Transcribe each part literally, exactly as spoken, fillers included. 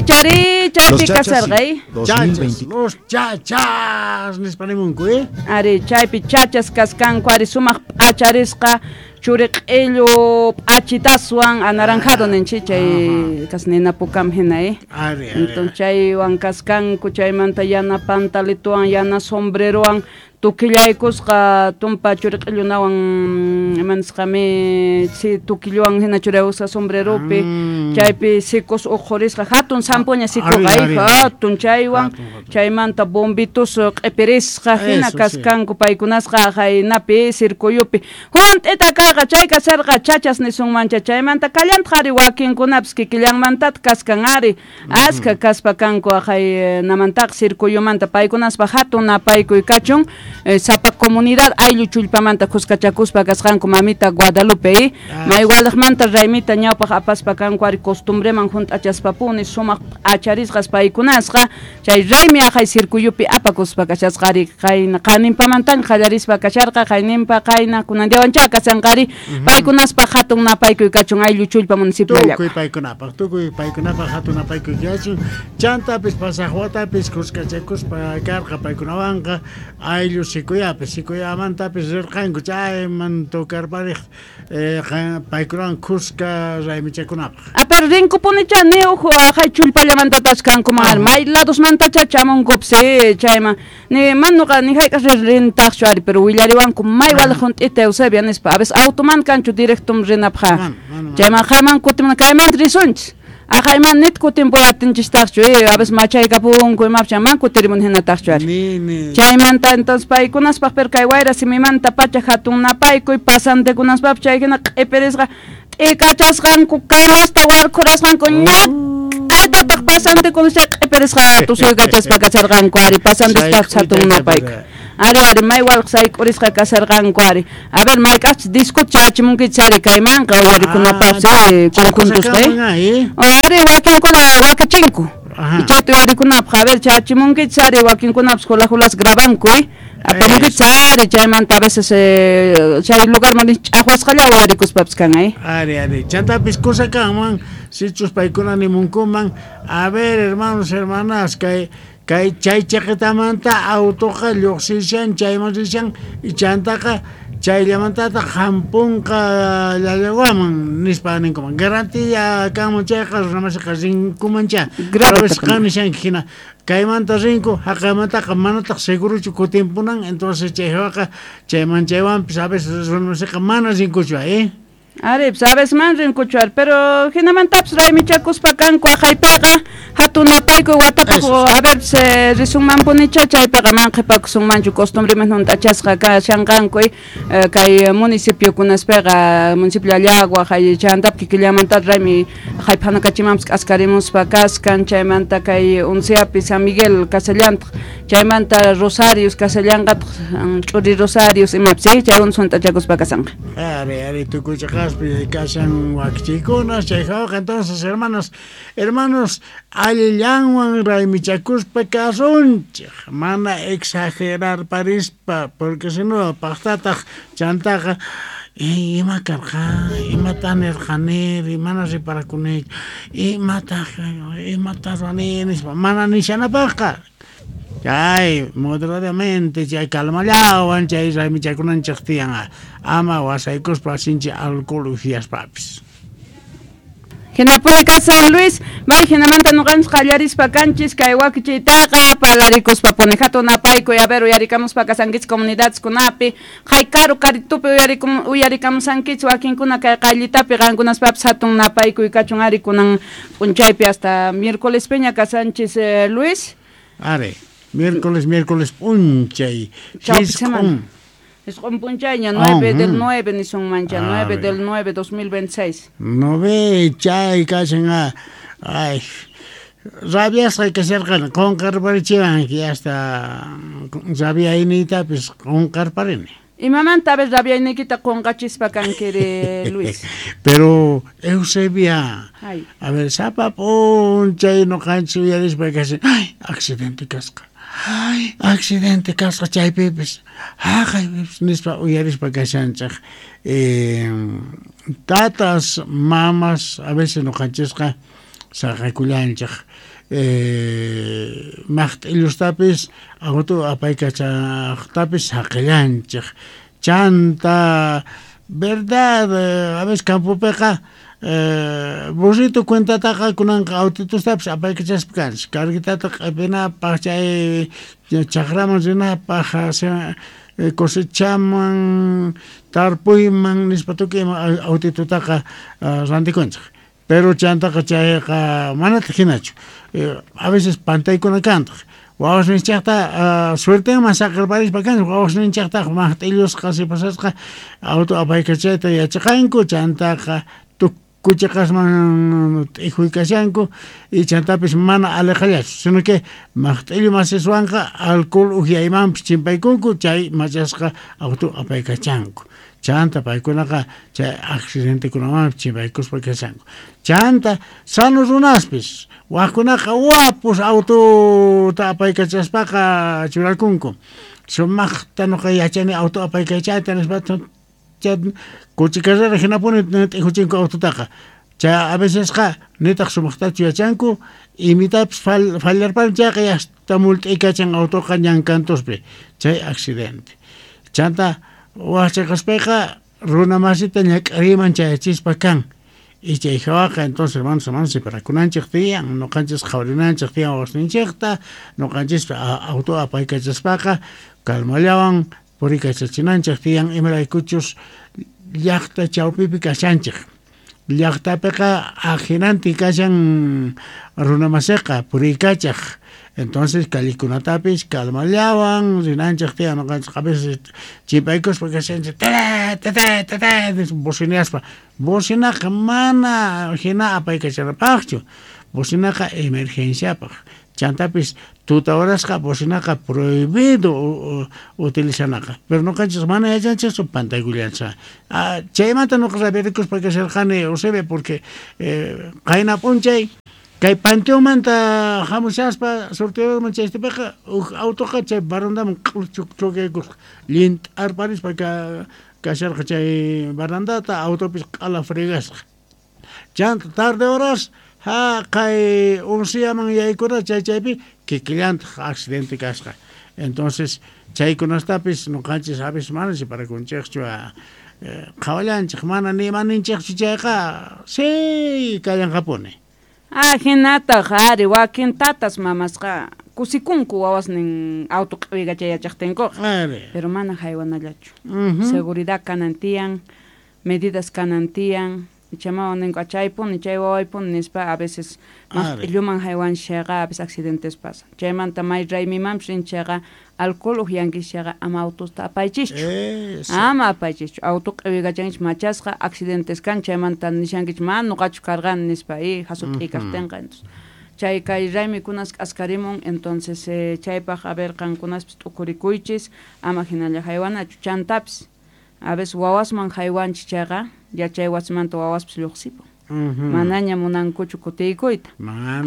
Chari chaypi kasarqa, eh? Chachas, los chachas nispa nimunku, eh? Ari, chaypi chachas kaskanku, ari sumaq p'acharisqa churiq'illu p'achitaswan anaranjado ninchik chay kasnina pukam hina, eh? Ari, ari. Entonces chaywan kaskanku, chaymanta yana pantalituwan, yana sombrerowan tukillaykusqa tumpa churiq'illunawan imanisqami si tukilluwan hina churaykusqa sombreropi Mm. chaypi sicos uqhurisqa hatun zampuña sikuqa Ari, ari, ari. hatun chaywan Hatun, hatun. chaymanta bombitus q'ipirisqa hina Eso, sí. kaskanku paykunasqa jaynapi circuyupi hunt'ita karqa chay kasarqa chachas nisunmancha chaymanta kallantaq ari wakinkunapis kikillanmantataq kaskan ari askha kaspa kanku jaynamantaqa circuyumanta paykunaspa hatun napaykuy kachun eh, sapa comunidad ayllu chullpamanta kuskachakuspa kasqanku mamita Guadalupe eh? Ah, Maywalaqmanta raymita ñawpaq apaspa kanku ari costumbreman hunt'achaspapuni sumaq p'acharisqas paykunasqa chay raymi aqhay circuyupi apakuspa kashasqa ari qayna qaninpamantaña qallarispa kasharqa qayninpa qayna kunan diawancha kashanqa ari paykunaspa hatun napaykuy kachun ayllu chullpa municipio Tukuy paykunapaq, tukuy paykunapaq hatun napaykuy kachun. Chantapis pasaq watapis kuskachakuspa karqa paykunawanqa ayllu sikuyapis, sikuyamantapis rirqanku chayman tocarpariq eh, qa- paykunawan kuska raymichakunapaq. A pero rinkupunicha ni uhu aqhay chullpallamantatas kankuman ari may ladosmantacha chamunkupis eh, chayman ni manuqa ni hayk'aq rintaqchu ari pero willariwanku may walaq hunt'ita Eusebia nispa a veces automan kanchu directum rinapaq Mana, mana, mana. chayman qayman kutimuna kaymanta risunchis aqhayman nit kutimpuy atinchistaqchu eh, a veces machaykapunku imapis chayman kutirimun hinataqchu ari Ni ni chaymanta entonces paykunaspaq pero kay wayra simimanta pacha hatun napaykuy pasantekunaspapis chay hina q'ipirisqa t'ikachasqanku canasta warkhurasqanku ñak'aytataq pasantekuna chay q'ipirisqa tusuykachaspa kasharqanku ari pasantespapis hatun napaykuy ari ari may walaq sayk'urisqa kasharqanku ari a ver mayk'aqchis discota chayachimunkichis ari kaymanqa uyarikunapaqpis eh, conjuntusqa eh Kusakanman, eh? ari wakinkuna wakichinku Ajá. chayta uyarikunapaq a ver chayachimunkichis ari wakinkunapis hula hulas grabanku eh apamunkichis ari chaymanta a veces eh, chay lugarman ch'aqwasqalla uyarikuspapis kan eh Ari, ari. Chantapis kusakanman, sichus paykuna nimunkuman, a ver, hermanos, hermanas, kay kay chay chaqitamanta autoqa lluqsishan, chayman rishan, y chantaqa chayllamantataq hampunqa llallawaman nispa ninkuman. Garantía kanman chayqa runamasiqa rinkumancha. Grave Pero a veces taqan. qan nishanki hina, kaymanta rinku, haqaymantaqa manataq seguruchu kutimpunan, entonces chaywaqa chayman chaywanpis a veces runamasiqa mana rinkuchu, eh? Ari, pues a veces man rinkuchu ari, pero hinamantapis raymichakuspa kanku aqhaypiqa hatun napaykuy watapaq Eso. a ver pues, eh, risunmanpunicha chaypiqa man qhipakusunmanchu costumbreman hunt'achasqa kashanqanku eh, kay municipiokunaspiqa municipio Llallagua hay chantap kikillamanta raymi hayphanakachimanpis k'askarimuspa kaskan chaymanta kay Unciapi San Miguel kasallantaq chaymanta Rosarios kasallanqataq ch'uri Rosarios imapis eh, chaywan hunt'achakuspa kasanqa. Ari, ari, tukuy chaqaspi kashan wakichikunas, chay hawqa entonces, hermanas, hermanos, allillanwan raymichakuspa kasunchik, mana exagerar parispa, porque si no, paqtataq chantaqa, "Ey, ima karqa, imata nirqaniri, mana riparakunichu, imata, imata ruwani nispa, mana nishanapaqqa. Chay moderadamente, chay calmallawan, chay raymichakunanchik tiyan, ama wasaykuspa sinchi alcohol ufiaspapis. Hinapuni San Luis, may hinamanta nuqanchis qallarispa kanchis kay wakichiytaqa parlarikuspa puni hatun napaykuy a ver uyarikamuspa kasankichis comunidadeskunapi hay karu karitupi uyarikum uyarikamusankichis wakinkuna kay qayllitapi qankunaspapis hatun napaykuy kachun ari kunan p'unchaypi hasta miércoles peña kasanchis eh, Luis. Ari, miércoles, miércoles p'unchay, Chawpi jisq'un. semana. Jisq'un p'unchayña nueve Oh, del mm. nueve nisunmancha, A nueve ver. del nueve dos mil veintiséis. No ve, chay kashan, ah, ay, rabiasqa kasharqani, qunqarparichiwanki hasta rabiayniytapis qunqarparini. Imamanta a ver rabiayniykita qunqachispa kankiri Luis. Pero Eusebia, Ay. a ver, sapa p'unchay nuqanchis uyarispa kashan, ay, accidente kasqa. Ay, accidente kasqa chaypipis, haqaypipis nispa uyarispa kashanchik. Eh, tatas, mamas, a veces nuqanchisqa saqakullanchej eh, maqt'illustapis auto apaykachaqtapis saqillanchej chanta verdad a veces campopeqa eh, burrito cuentataqa kunanqa autitustapis apaykachaspa kanchis carguitata q'ipinapaq chay chaqraman rinapaq cosechaman tarpuyman nispa tukuy ima autitutaqa rantikunchik pero chantaqa chayqa manataq hinachu a veces pantaykuna kantaq wawasninchikta suertenman saqirparispa kanchik wawasninchiktaq maqt'illusqa sipasasqa auto apaykachayta yachaqanku chantaqa kuchiqasman t'ijuykashanku y chantapis mana aleqallachu sino que maqt'illu masiswanqa alcohol ukyaymanpis chimpaykunku chay machasqa auto apaykachanku chanta paykunaqa chay accidentekunamanpis chimpaykuspa kashanku chanta sano runaspis wajkunaqa wapus autota apaykachaspaqa churakunku sumaqta nuqa yachani auto apaykachayta nispa coche carrera hinapuni t'ijuchinku autotaqa chay a vecesqa nitaq sumaqtachu yachanku imitapis fallarpani chayqa yasta mult'ikachan autoqa ñan kantuspi chay accidente chanta wajchaqaspayqa runa masita ñak'ariyman chayachispa kan y chay hawaqa entonces hermanos hermanos separakunanchik tiyan nuqanchis qhawarinanchik tiyan wawasninchikta nuqanchispa auto apaykachaspaqa calmallawan purikachachinanchik tiyan imaraykuchus llaqta chawpipi kashanchik llaqtapiqa ajinanti kashan runamasiqa purikachaq entonces callikunatapis calmallawan rinanchik tiyan nuqanchik a veces chimpaykuspa kashanchik tata tata tata bocineaspa bocinaqa mana hina apaykachanapaqchu bocinaqa emergenciapaq chantapis tuta horasqa bocinaqa prohibido utilizanaqa pero nuqanchis mana yachanchikchu pantaykullanchik chaymanta nuqa rabiarikuspa kasharqani Eusebio porque eh, qayna p'unchay kay panteonmanta hamushaspa sorteoman chaystipiqa huk autoqa chay barandaman chukaykusqa llint'arparispa kasharqa chay barandata autopis q'ala fregasqa chanta tarde horas haqay onceaman yaykura chay chaypi kikillantaq accidente kasqa entonces chaykunastapis nuqanchis a veces mana separakunchikchu qhawallanchik mana ni imaninchikchu chayqa sí kallanqapuni ah hinataq ari wakin tatas mamasqa kusikunku wawasnin auto q'iwikachay yachaqtinkuqa pero mana haywanallachu seguridad kanan tiyan medidas kanan tiyan chamawan ninku chaypuni chay wawaypuni nispa a veces maqt'illuman haywanchayqa a veces accidentes pasan chaymanta may raymimanpis rinchayqa alcohol uqyankichayqa ama autosta apaychischu ama apaychischu auto q'iwikachankichik machasqa accidentes kan chaymanta nishankichik mana nuqachu karqani nispa y hasut'i kaqtinqa entonces chay kay raymikunas k'askarimun entonces eh, chaypaq a ver qankunaspis t'ukurikuychis ama hinalla haywanachu chantapis a veces wawasman haywanchik chayqa yachay wasimanta wawaspis lluqsipun manaña munankuchu kutiykuyta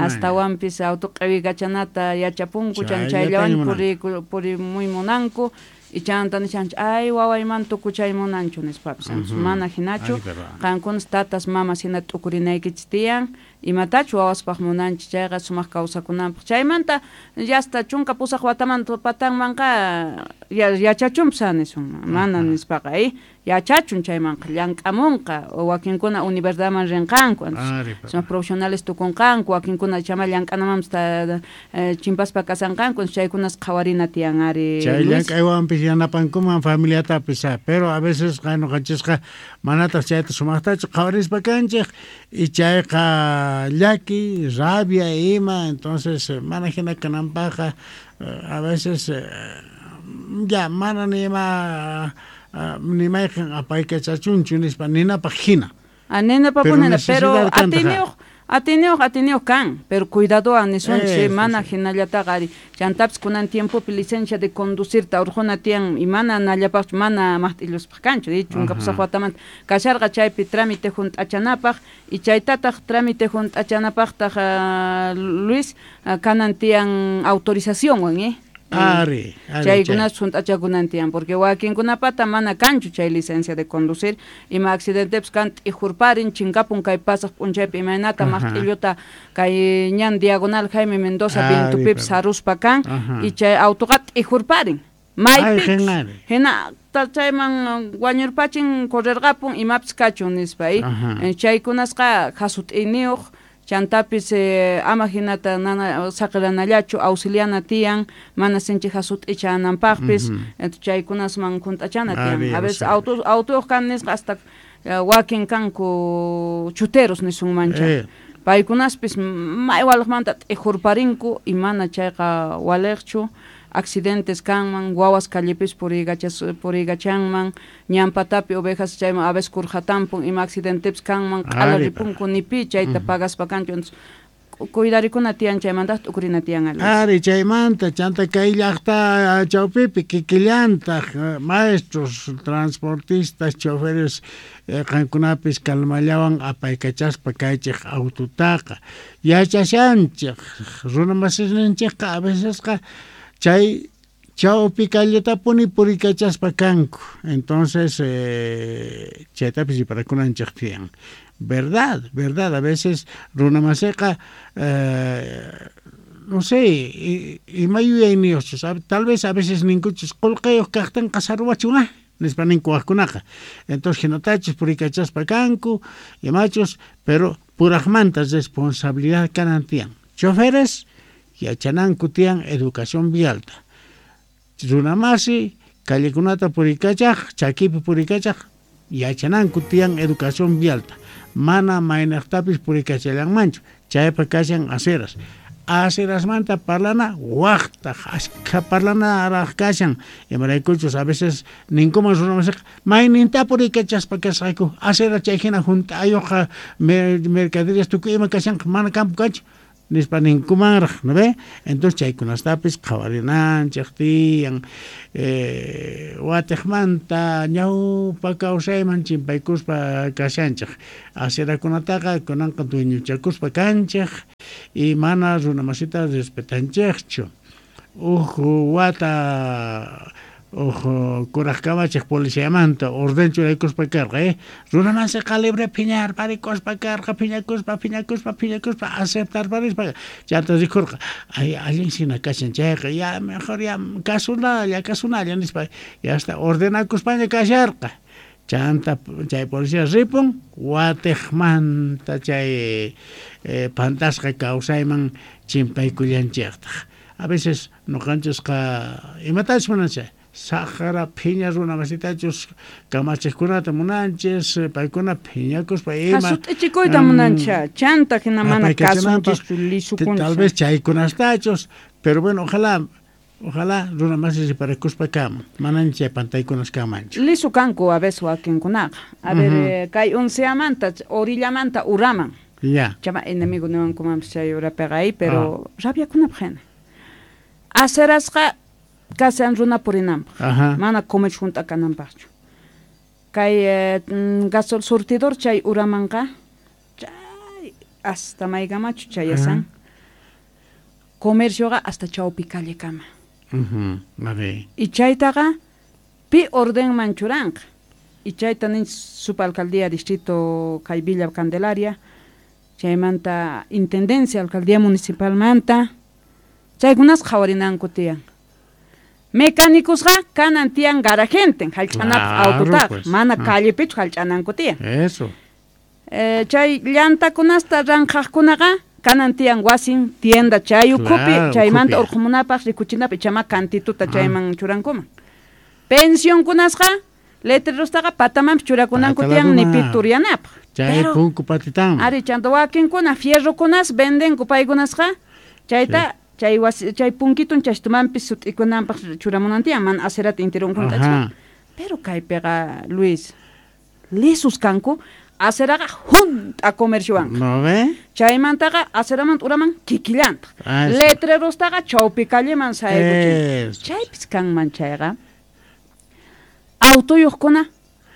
astawanpis auto q'iwikachanata yachapunku chan chayllawan puriy purimuy munanku y chanta nishanchik ay wawayman tukuchay munanchu nispapis mana hinachu qankunas tatas mamas hina t'ukurinaykichik tiyan imatachu wawaspaq munanchik chayqa sumaq kawsakunanpaq chaymanta yasta chunka pusaq watamanta patanmanqa yachachunpis nisun mana nispaqa eh yachachun chaymanqa llank'amunqa wakinkuna universidadman rinqanku sumaq profesionales tukunqanku wakinkuna chama llank'anamanpis chimpaspa kasanqanku chaykunas qhawarina tiyan ari chay llank'aywanpis yanapankuman familiatapis pero a veces nuqanchisqa manataq chayta sumaqtachu qhawarispa kanchik y chayqa llaki rabia ima entonces mana hina kananpaqqa a veces ya mana ni ima ni mayqin apaykachachunchu nispa ninapaq hina ah ninapaq pero atiniyuq atiniyuq atiniyuq kan pero cuidadowan nisunchik mana hinallataqa ari chantapis kunan tiempopi licencia de conducirta urquna tiyan y mana nallapaqchu mana maqt'illuspaq kanchu chunka pusaq watamanta kasharqa chaypi trámite hunt'achanapaq y chaytataq trámite hunt'achanapaqtaq Luis kanan tiyan autorizacionwan eh Ari, ari Chaykunas junt'achakunan tiyan, porque wakinkunapata mana kanchu chay licencia de conducir, ima accidentepis kan t'ijurparin, chinkapun kay pasaq p'unchaypi imaynata maqt'illuta kay ñan diagonal Jaime Mendoza vientupipis saruspa kan, y chay autoqa t'ijurparin. Maypis hina chayman wañurpachin correrqapun imapis kachun nispa, y chaykunasqa jasut'iniyuq chantapis eh, ama hinata nana saqiranallachu auxiliana tiyan mana sinchi jasut'ichananpaqpis, entonces chaykunasman junt'achana tiyan. A veces auto autoyuq kan nisqa hasta wakin kanku chuteros nisunmancha. Eh. Paykunaspis may walaqmanta t'ijurparinku y mana chayqa waliqchu. Accidentes kanman, wawas callepis puriygachas puriygachanman, ñampatapi ovejas chayman a veces kurjatampun ima accidentepis kanman, q'ala ripunku nipi chayta pagaspa kanchu. Entonces cuidarikuna tiyan chaymanta t'ukurina tiyan algo. Ari chaymanta chanta kay llaqta chawpipi kikillantaq maestros, transportistas, choferes qankunapis kalmallawan apaykachaspa kaychik autotaqa yachashanchik runa masisninchikqa a vecesqa chay chawpi calletapuni purikachaspa kanku. Entonces eh, chaytapis riparakunanchik tiyan. Verdad, verdad, a veces runa masiqa eh, no sé, ima yuyayniyuqchus, tal vez a veces ninkuchus qullqiyuq kaqtinqa saruwachun ah, nispa ninku waqkunaqa. Entonces hinatachus purikachaspa kanku, imachus, pero puraqmanta responsabilidad kanan tiyan. Choferes yachananku tiyan educación vialta. Runamasi callekunata purikachaq, chakipi purikachaq, yachananku tiyan educación vialta. Mana maynaqtapis purikachallanmanchu, chaypa kashan aceras. Acerasmanta parlana waqtaq, ashka parlanaraq kashan. Imaraykuchus a veces ninkuman runamasiqa mayninta purikachaspa kasqayku, acera chay hina junt'ayuqqa mercaderías tukuy ima kashanqa mana kampu kanchu nispa ninkumanraq, ¿no ve? Entonces chaykunastapis qhawarinanchik tiyan, eh, watiqmanta ñawpa kawsayman chimpaykuspa kashanchik. Acerakunataqa kunanqa dueñochakuspa kanchik y mana runamasita respetanchikchu. Uj wata uj kuraq kamachik policiamanta orden churaykuspa karqa, eh? Runamasiqa libre phiñarparikuspa karqa, phiñakuspa, phiñakuspa, phiñakuspa, aceptarparispa. Chanta rikurqa, ay, allin sina kashan chayqa, ya mejor ya kasunalla, kasunalla nispa, ya hasta ordenakuspaña kasharqa. Chanta chay policía ripun, watiqmanta chay eh, pantasqa kawsayman chimpaykullanchiqtaq. A veces noqanchisqa imatachus munanchik, saqra phiña runa masitachus kamachiqkunata munanchis, paykuna phiñakuspa ima jasut'ichikuyta munancha, chanta hina mana kasunchischu lisukuncha. Tal vez chaykunastachus, pero bueno, ojalá ojalá runa masi riparakuspa kaman, manan chay pantaykunas kamanchu. Lisu kanku a veces wakinkunaqa. A ver, uh-huh. kay unceamanta, orillamanta uraman. Ya. Chama enemigo niwankumanpis chay urapiqa ahí, pero ah. rabiakunapaq hina. Acerasqa kashan runa purinanpaq, mana comercio junt'a kananpaqchu. Kay eh, gasol surtidor chay uramanqa chay hasta maykamachu chayasan. Comercioqa hasta chawpi callekama. Uh-huh. A ver. Y chaytaqa pi ordenman churanqa. Y chayta nin subalcaldía distrito kay Villa Candelaria, chaymanta intendencia alcaldía municipalmanta, chaykunas qhawarinanku tiyan. Mecánicosqa kanan tiyan garajenten, hallch'anapaq autotaqa, pues. Mana ah. callepichu hallch'ananku tiyan. Eso. Eh, chay llantakunasta ranqaqkunaqa kanan tiyan wasin tienda chay ukhupi, claro, chaymanta urqumunapaq rikuchinapaq chama kantituta ah. chayman churankuman. Pensionkunasqa letrerostaqa patamanpis churakunanku tiyan nipi turyanapaq. Chay punku patitan. Ari chanta wakinkuna fierrokunas vendenku paykunasqa chayta sí. Chay wasi chay punkitun chashtumanpis sut'ikunanpaq churamunan tiyan mana acerata intirun junt'achka. Pero kaypiqa Luis lisus kanku aceraqa junt'a comerciowanqa. ¿No ve? Chaymantaqa aceramanta uraman kikillantaq. Letrerostaqa chawpi calleman saykuchin. Chaypis kanman chayqa autoyuqkuna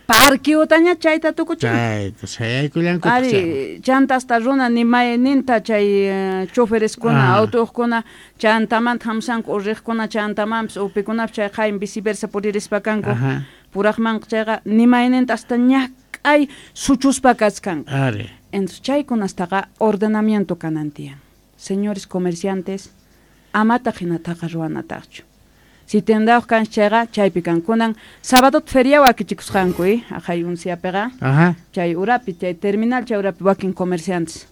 Parqueotaña chayta tukuchin. Chayta sayaykullanku. Ari, chanta hasta runa ni mayninta chay eh, chofereskuna, Ah. autokuna, chantamanta hamsanku urriqkuna, chantamanpis upikunapis chay qayn viceversa puririspa kanku. Ajá. Puraqmanqa chayqa ni mayninta hasta ñak'ay suchuspa kachkanku. Ari. Entonces chaykunastaqa ordenamiento kanan tiyan. Señores comerciantes, amataq hinataqa ruwanataqchu. Si tendayuq kanchis chayqa chaypi kankunan sábado feria wakichikusqanku, eh, aqhay unsiapiqa. Ajá. Chay urapi, chay terminal chay urapi wakin comerciantes.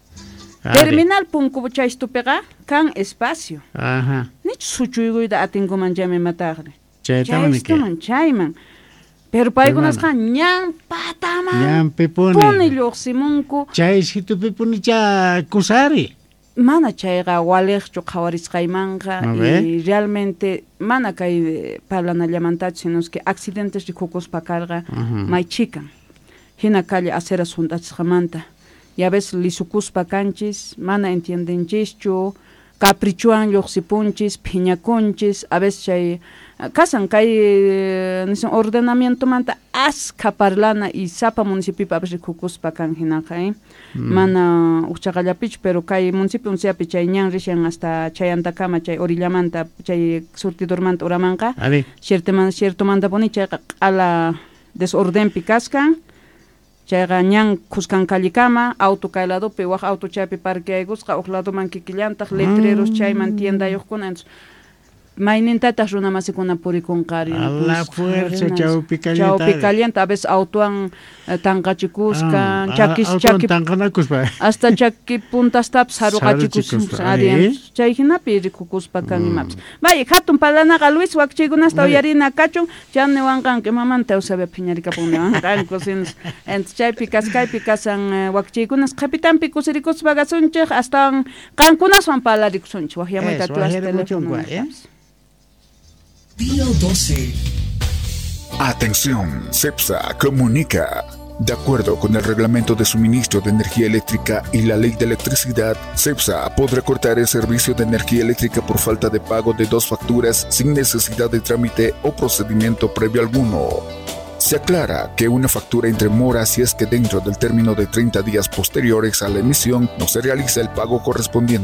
Ari. Terminal punku chaystupiqa kan espacio. Ajá. Nichu suchuykuyta atinkuman chaymi imataqri. Chaytaman niki. Chaystuman chayman. Pero paykunasqa ñan pataman Ñanpipuni. puni lluqsimunku. Chay situpipunicha kusari. Mana chayqa waliqchu qhawarisqaymanqa A ver. y realmente mana kay eh, parlanallamantachu sino es que accidentes rikukuspa karqa Ujú. may chikan. Hina calle aceras hunt'achisqamanta. Y a veces lisukuspa kanchis, mana entiendenchischu, caprichuan lluqsipunchis, phiñakunchis, a veces chay kasan kay eh, nisun ordenamientomanta askha parlana y sapa municipiopi a veces rikukuspa kan hinaqa, eh. Mana uqchaqallapichu, pero kay municipio unsiapi chay ñan rishan hasta chayantakama chay orillamanta chay surtidormanta uramanqa. Ari. Ciertoman, ciertomantapuni chayqa q'ala desordenpi kaskan. Chayqa ñan khuskan callikama, auto kay ladopi, waj auto chaypi parqueaykusqa, uq ladoman kikillantaq, letreros chayman tiendayuqkuna. Entonces, maynintataq runa masikuna purikunqari. A la fuerza, chawpi callenta. Chawpi caliente, a veces autowan eh, tanqachikuskan, Ah, chakis autowan chaki tanqanakuspa. hasta chaki puntastapas saruqachikuspa. Saruchikuspa, Ari, ari. entonces, chay hinapi rikukuspa kan imapas. Vaya, hatun parlanaqa Luis wakchaykunasta Vaya. uyarina kachun, chan niwanqanku imamanta Eusebio phiñarikapun niwanqanku, sinos. Entonces, chaypi kaskaypi kasan eh, wakchaykunas qhipitanpi kusirikuspa kasunchik, astawan qankunaswan parlarikusunchik, waqyamuyta Eso, atiwas waqyarimuchunku, teléfono eh. Día doce. Atención, CEPSA comunica. De acuerdo con el reglamento de suministro de energía eléctrica y la ley de electricidad, CEPSA podrá cortar el servicio de energía eléctrica por falta de pago de dos facturas sin necesidad de trámite o procedimiento previo alguno. Se aclara que una factura entre mora si es que dentro del término de treinta días posteriores a la emisión no se realiza el pago correspondiente.